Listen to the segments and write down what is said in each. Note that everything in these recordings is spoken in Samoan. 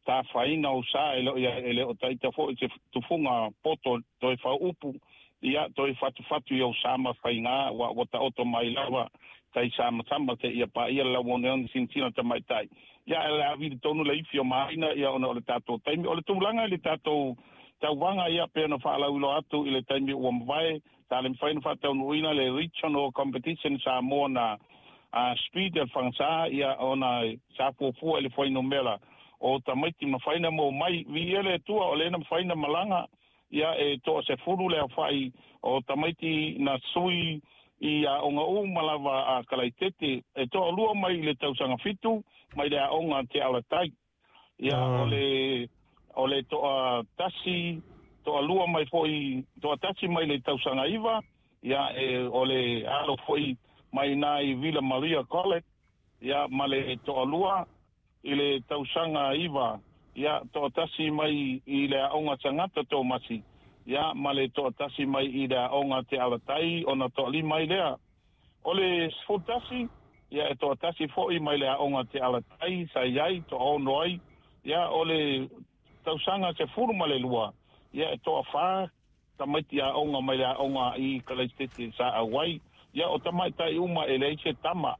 Tafaina o sa e leo ia e le o taita fo'i se tufuga poto toe fauupu ia toe fatufatu i ou sa ma faigā ua taoto mai lava tai samasama seia paia le lauoneone silasila tamaitai ia e le a vili tonu le ifi o maina ia ona o le tatou taimi o le tulaga i le tatou tauvaga ia pe ona faalauiloa atu i le taimi ua mavae sa le mafai ona faataunuuina le regional competition Samoa na speed e le fagasā ia ona sa fuafua i le fuainumera o tamaiti mafai na maua mai viia le Atua o lea na mafai na malaga ia e 10 le aofa'i o tamaiti na sui i aoga uma lava a Kalaitete e 2 mai i le tausaga 7 mai le aoga Te Alatai ia o le 1 2 mai fo'i 1 mai le tausaga 9 ia e o le alo fo'i mai nā i Villa Maria College ia ma le 2 i le tausaga 9 ia 1 mai i le aoga Sagata Tomasi ia ma le 1 mai i le aoga Te Alatai ona 5 ai lea. O le 11 ia e 1 fo'i mai le aoga Te Alatai sa i ai 6 ai ia. O le tausaga 12 ia e 4 tamaiti aoga mai le aoga i Kalaitete sa auai ia o tamaitai uma e leai se tama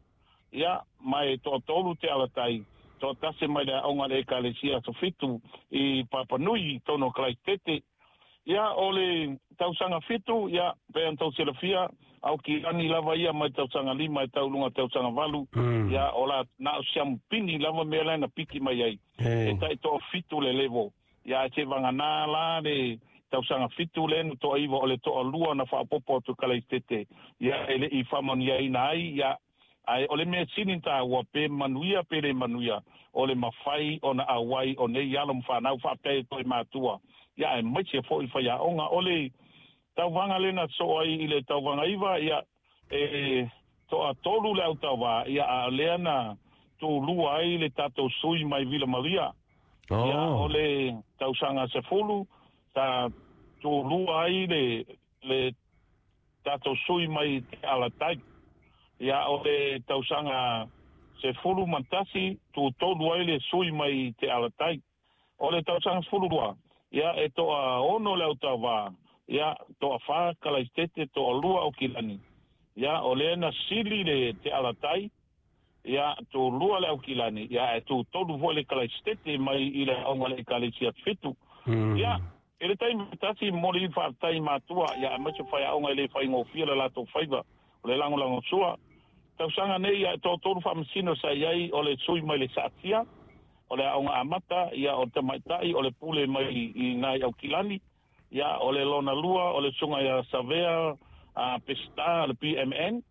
ia ma e 3 Te Alatai, 1 mai le aoga le Ekalesia Sofitu i Papanui i tonu o Kalaitete. Ia o le tausaga 7 ia pe ona tou silafia Aukilani lava ia mai tausaga 5 e tauluga tausaga 8 ia o la na o siamupini lava mea la na piki mai ai e tai 7 le level ia e se vaganā la le tausaga 7 le na 9 o le 2 na faapopo atu Kalaitete ia e le'i faamanuiaina ai ia ae o le mea sini tāua pe manuia pe le manuia o le mafai ona auai o nei alo ma fanau faapea e toe matua ia ae maise fo'i faiaoga o le tauvaga lena soo ai i le tauvaga 9 ia e 3 le autauvā ia a lea na tulua ai le tatou sui mai Villa Maria ia o le tausaga 10 sa tulua ai le tatou sui mai Te Alatai ia o le tausaga 11 tutolu ai le sui mai Te Alatai. O le tausaga 12 ia e 6 le autauvā ia 4 Kalaitete, 2 Aukilani ia o lea na sili le Te Alatai ia tulua le Aukilani ia e tutolu foi le Kalaitete mai i le aoga le Ekalesia 7 ia e le taimi tasi momoli faafetai matua ia aemaise faiaoga e le faigofie le latou faiva o le lagolago sua tausaga nei ia e 3 faamasino sa i ai o le sui mai le Saatia o le aoga amata ia o tamaitai o le pule mai i nai Aukilani ia o le lona lua o le suga ia Savea a Pesta le PMN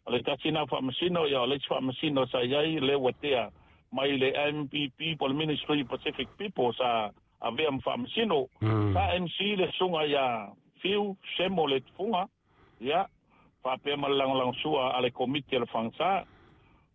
o le tasi na faamasino ia o le isi faamasino sa i ai le Uatea mai le MPP po le Ministry Pacific People sa avea ma faamasino sa MC le suga ia Fiu Semo le Tufuga ia faapea ma le lagolago sua a le komiti a le fagasā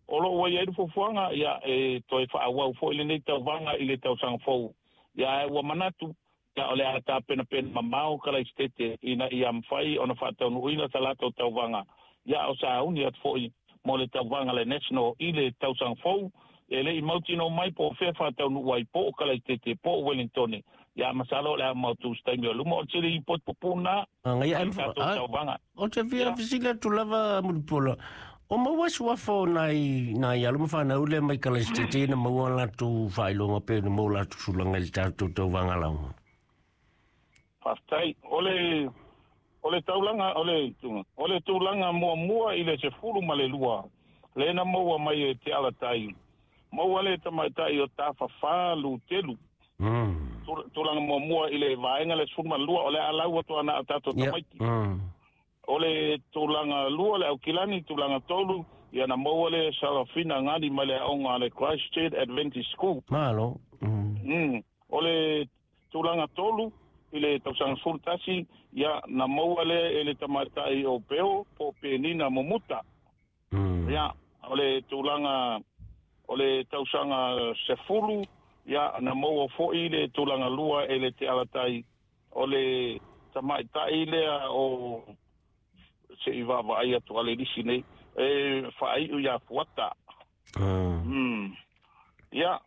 o loo ua iai le fuafuaga ia e toe faaauau fo'i lenei tauvaga i le tausaga fou ia ua manatu ia o le a tapenapena mamao Kalaisitete ina ia mafai ona faataunuuina sa latou tauvaga ia o sauni atu fo'i mo le tauvaga le national i le tausaga fou e le'i mautino mai po o fea faataunuu ai po o Kalaitete po o Wellingtone ia masalo o le a mautu se taimi o luma o le sili potipupuna Ngai i tatou tauvaga. O te fia fesili atu lava Mulipola. O maua suafa o nai alo ma fanau le mai Kalaisitete na maua latou faailoga pe na maua latou sulaga i le tatou tauvaga lauga. Faafetai o le taulaga o le tulaga muamua i le 12 le na maua mai e Te Alatai maua le tamaitai o Tafafā Lutelu tulaga muamua i le vaega le 12 o le alau atu ana o tatou tamaiti o le tulaga lua le Aukilani, tulaga tolu ia na maua le Sarafina Gani mai le aoga le Christchurch Adventist School. Malo. O le tulaga tolu i le tausaga 11 ia na maua le e le tamaitai o Peo po o Penina Momuta. Ia o le tulaga o le tausaga 10 ia na maua fo'i le tulaga lua e le Te Alatai o le tamaitai lea o se i vaavaai atu ale lisi nei e faaiu ia Fuata. Ia